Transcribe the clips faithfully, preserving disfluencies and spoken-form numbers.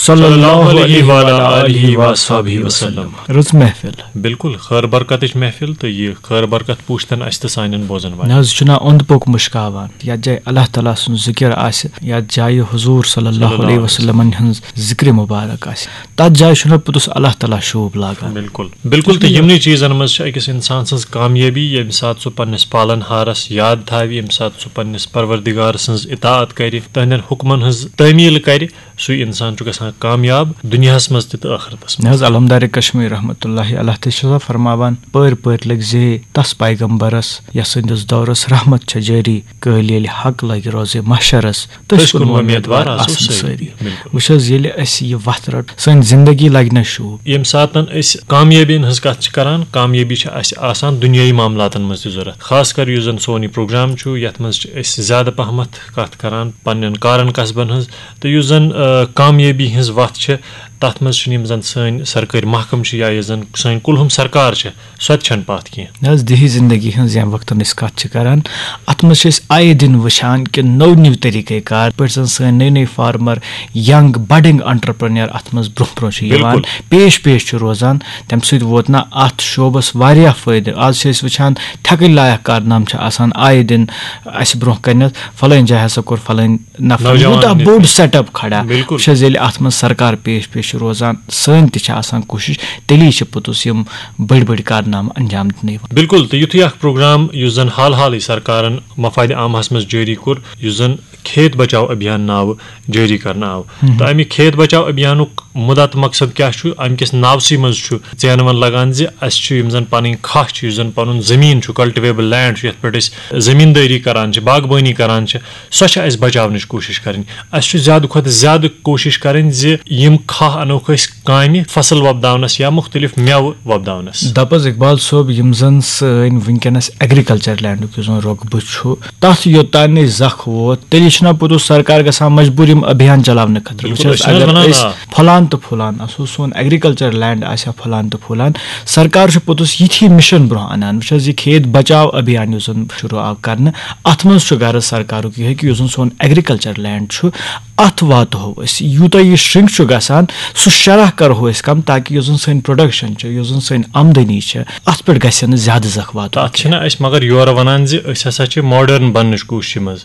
صلی اللہ علیہ وعلی آلہ وصحبہ وسلم۔ رٕژ محفل۔ بِلکُل، خٲر برکتٕچ محفل، تہٕ یہِ خٲر برکت پوٗشتن اَسہِ تہٕ سانٮ۪ن بوزن والٮ۪ن۔ نہ حظ، یہِ چھُنہ اوٚنٛد پوٚک مُشکاوان۔ یَتھ جایہِ اللہ تعالیٰ سُنٛد ذِکِر آسہِ، یَتھ جایہِ حضوٗر صلی اللہ علیہ وسلمن ہٕنٛز ذِکرِ مُبارک آسہِ، تَتھ جایہِ چھُنہ پوٚتُس اللہ تعالیٰ شوٗب لاگان۔ بِلکُل، بِلکُل، تہٕ یِمنٕے چیٖزن منٛز چھِ أکِس اِنسان سٕنٛز کامیٲبی، ییٚمہِ ساتہٕ سُہ پننِس پالن ہارس یاد تھاوِ، ییٚمہِ ساتہٕ سُہ پننِس پروردگار سٕنٛز اطاعت کرِ، تہنٛدٮ۪ن حُکمن ہٕنٛز تعمیٖل کرِ، سُے اِنسان چھُ گژھان کامیاب دُنیاہَس منٛز تہِ تہٕ ٲخرتَس منٛز۔ نہ حظ، علمدار کشمیر رحمتہ اللہ علیہ تہِ چھُ آسان فرماوان، پٔرۍ پٔرۍ لٔگۍ زے تَس پیغمبرس، یَس سٕنٛدِس دورس رحمت چھےٚ جٲری، کٲلۍ ییٚلہِ حق لگہِ روزِ محشرس، تٔسۍ کُن وۄمیدوار آسو سٲری۔ بِلکُل۔ وٕچھ حظ، ییٚلہِ اَسہِ یہِ وَتھ رَٹ، سٲنۍ زندگی لگہِ نہ شوٗب۔ ییٚمہِ ساتَن أسۍ کامیٲبی ہٕنٛز کَتھ چھِ کران، کامیٲبی چھِ اَسہِ آسان دُنیٲیی معاملاتَن منٛز تہِ ضوٚرَتھ۔ خاص کر یُس زَن سون یہِ پروگرام چھُ، یَتھ منٛز چھِ أسۍ زیادٕ پَہمَتھ کَتھ کران پننٮ۪ن کارَن کسبَن ہٕنٛز، تہٕ یُس زَن، آ، کامیٲبی ہٕنٛز وَتھ چھِ، تَتھ منٛز چھِنہٕ یِم زَن سٲنۍ سرکٲرۍ محکمہٕ چھِ یا یُس زَن سٲنۍ کُلہُم سرکار چھِ، سۄ تہِ چھَنہٕ پَتھ کینٛہہ۔ نہ حظ، دیہی زندگی ہٕنٛز ییٚمہِ وقتَن أسۍ کَتھ چھِ کران، اَتھ منٛز چھِ أسۍ آیے دِن وٕچھان کہِ نٔو نٔو طریٖقے کار، یِتھ پٲٹھۍ زَن سٲنۍ نٔے نٔے فارمر، ینگ بڈنگ انٹرپرینر اَتھ منٛز برونٛہہ برونٛہہ چھِ یِوان، بِلکُل۔ پیش پیش چھِ روزان۔ تَمہِ سۭتۍ ووت نہ اَتھ شعبَس واریاہ فٲیدٕ۔ آز چھِ أسۍ وٕچھان، تھٮ۪کٕنۍ لایق کارنامہٕ چھِ آسان آیے دِن اَسہِ برونٛہہ کَنٮ۪تھ، فلٲنۍ جایہِ ہسا کوٚر فلٲنۍ نفر نوجوان یوٗتاہ نِکھ۔ بوٚڑ سیٹ اپ کھڑا۔ بِلکُل۔ وٕچھ حظ، ییٚلہِ اَتھ منٛز سرکار پیش پیش چھِ روزان، سٲنۍ تہِ چھِ آسان کوٗشِش، تیٚلی چھِ پوٚتُس یِم بٔڑۍ بٔڑۍ کارنامہٕ انجام دِنہٕ یِوان۔ بِلکُل، تہٕ یُتھُے اکھ پروگرام یُس زن حال حالٕے سرکارن مفادِ عامہس منٛز جٲری کوٚر، یُس زن کھیت بچاو ابھیان ناوٕ جٲری کرنہٕ آو، تہٕ امہِ کھیت بچاو ابھیانُک مُدا تہٕ مقصد کیٛاہ چھُ؟ امہِ کِس ناوسٕے منٛز چھُ ژینوَن لگان زِ اسہِ چھُ یِم زن پنٕنۍ کھاہ چھِ، یُس زن پنُن زٔمیٖن چھُ، کلٹیویبل لینڈ چھُ، یتھ پٮ۪ٹھ أسۍ زٔمیٖندٲری کران چھِ، باغبٲنی کران چھِ، سۄ چھِ اسہِ بچاونٕچ کوٗشِش کرٕنۍ۔ اسہِ چھُ زیادٕ کھۄتہٕ زیادٕ کوٗشِش کرٕنۍ زِ یِم کھاہ انوکھ أسۍ کامہِ فصل وۄپداونس یا مُختٔلِف مٮ۪وٕ وۄپداونس۔ دپ حظ اقبال صٲب، یِم زن سٲنۍ وٕنکیٚنس ایگریکلچر لینڈُک یُس زن رۄقبہٕ چھُ، تتھ یوٚتام نہٕ زکھ ووت، تیٚلہِ چھُنہ پوٚتُس سرکار گژھان مجبوٗر یِم ابھیان چلاونہٕ خٲطرٕ۔ بِلکُل، وٕچھ حظ، أسۍ چھِنہٕ حظ اگر ونان، أسۍ آ۔ پھۄلان تہٕ پھۄلان آسو، سون ایگریکلچر لینڈ آسہِ ہا پھۄلان تہٕ پھۄلان، سرکار چھُ پوٚتُس یِتھی مِشن برونٛہہ انان۔ وٕچھ حظ، یہِ کھیت بچاو ابھیان یُس زن شروٗع آو کرنہٕ، اتھ منٛز چھُ غرض سرکارُک یِہوٚے کہِ یُس زن سون ایگریکلچر لینڈ چھُ، اتھ واتہو أسۍ۔ یوٗتاہ یہِ شرنک چھُ گژھان، سُہ شرح کرہو أسۍ کم، تاکہِ یُس زن سٲنۍ پروڈکشن چھِ، یُس زن سٲنۍ آمدنی چھِ، اتھ پٮ۪ٹھ گژھِ نہٕ زیادٕ زکھ واتُن تہٕ اتھ کینٛہہ۔ چھِنہٕ أسۍ مگر یورٕ ونان زِ أسۍ ہسا چھِ ماڈرن بننٕچ کوٗششہِ منٛز۔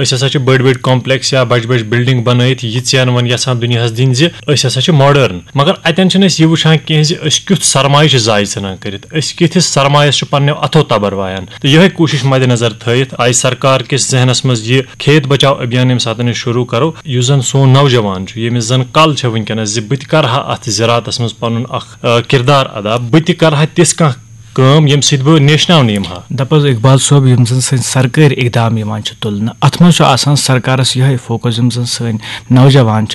أسۍ ہسا چھِ بٔڑۍ بٔڑۍ کمپلیکس یا بجہِ بجہِ بلڈنگ بنٲیِتھ یہِ ژینوَن یژھان دُنیاہس دِنۍ زِ أسۍ ہسا چھِ ماڈرن، مگر اتٮ۪ن چھِنہٕ أسۍ یہِ وٕچھان کینٛہہ زِ أسۍ کیُتھ سرمایہِ چھِ ضایع ژھٕنان کٔرِتھ، أسۍ کِتھِس سرمایس چھِ پننیو اتھو تبر وایان۔ تہٕ یِہوٚے کوٗشش مدِ نظر تھٲیِتھ آیہِ سرکار کِس ذہنس منٛز یہِ کھیت بچاو ابھیان ییٚمہِ ساتہٕ أسۍ شروٗع کرو، یُس زن سون نوجوان چھُ، ییٚمِس زن کل چھےٚ وٕنکیٚنس زِ بہٕ تہِ کرٕ ہا اتھ زِراعتس منٛز پنُن اکھ، آ، کردار ادا، بہٕ تہِ کرٕ ہا تِژھ کانٛہہ کٲم ییٚمہِ سۭتۍ بہٕ نیشناونہٕ یِمہٕ ہا۔ دپ حظ اقبال صٲب، یِم زن سٲنۍ سرکٲرۍ اقدام یِوان چھِ تُلنہٕ، اتھ منٛز چھُ آسان سرکارس یِہوٚے فوکس، یِم زن سٲنۍ نوجوان چھِ،